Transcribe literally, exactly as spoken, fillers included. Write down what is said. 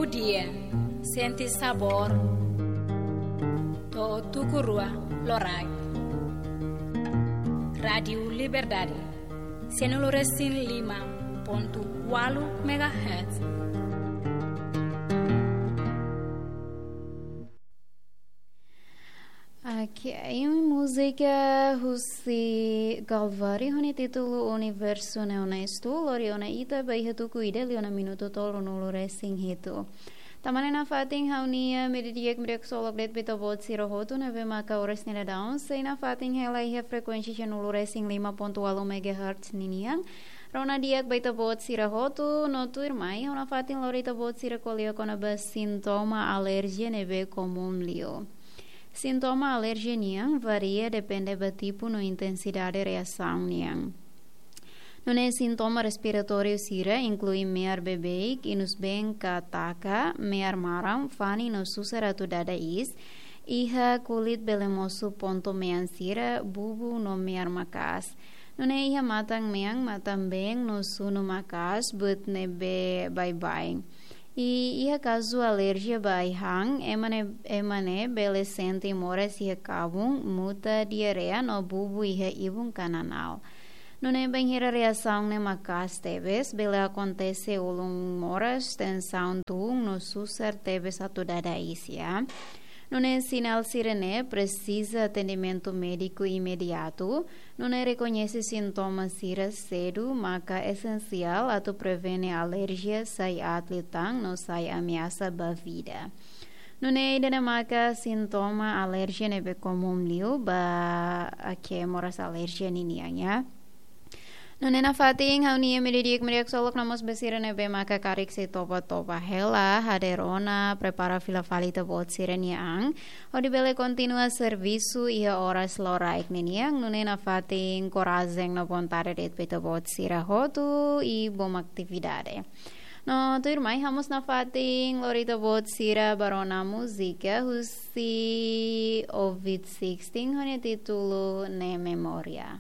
Dia, sente sabór. To'o tuku rua loraik. Rádiu Liberdade, sianulu resin lima pontu ualu megahertz. Oke, imi múzika husi Galvari ho nia títulu Universo Neonesto, lori ona ita ba iha tuku ida liu ona minutu tolunulu resin hitu. Tan ne'e nafatin ha'u-nia meiudia di'ak, meiudia ksolok de'it ba ita-boot sira hotu ne'ebé maka oras ne'e daudaun sei nafatin hela iha frekuénsia sianulu resin lima pontu ualu megahertz ninian. Rona di'ak ba ita-boot sira hotu, no tuirmai ha'u nafatin lori ita-boot sira ko'alia kona-ba sintoma alerjia ne'ebé komún liu. Sintoma alerjia nian varia depende ba tipu no intensidade reasaun nian. Nune'e sintoma respiratóriu sira inklui me'ar beibeik, inus-been ka taka, me'ar maran, fani no susar atu dada iis, iha kulit bele mosu pontu mean sira, bubu no me'ar maka'as. Nune'e iha matan mean, matan-been no sunu maka'as, buat ne'ebé baibain. I iha kazu alerjia ba ai-han, ema ne'e, ema ne'e bele sente moras iha kabun, muta, diarreia no bubu iha ibun ka nanál. Nune'e bainhira reasaun ne'e maka'as tebes, bele akontese ulun moras, tensaun tun no susar tebes atu dada iis. Nune'e sinál sira-ne'e presiza atendimentu médiku imediatu. Nune'e rekoñese sintoma sira sedu maka esensiál atu prevene alerjia sai aat liután no sai ameasa ba vida. Nune'e ida-ne'e maka sintoma alerjia ne'ebé komún liu ba ema moras alerjia ninian. Nune'e nafatin ha'u-nia meiudia di'ak, meiudia ksolok, no mós ba sira ne'ebé maka karik sei toba-toba hela, hadeer ona, prepara fila fali ita-boot sira-nia an hodi bele kontinua servisu iha oras loraik ninian. Nune'e nafatin korajen no vontade de'it ba ita-boot sira hotu i bom atividade. No tuirmai ha'u mós nafatin lori ita-boot sira ba rona múzika husi Ovid Sixteen ho nia títulu Ne'e Memória.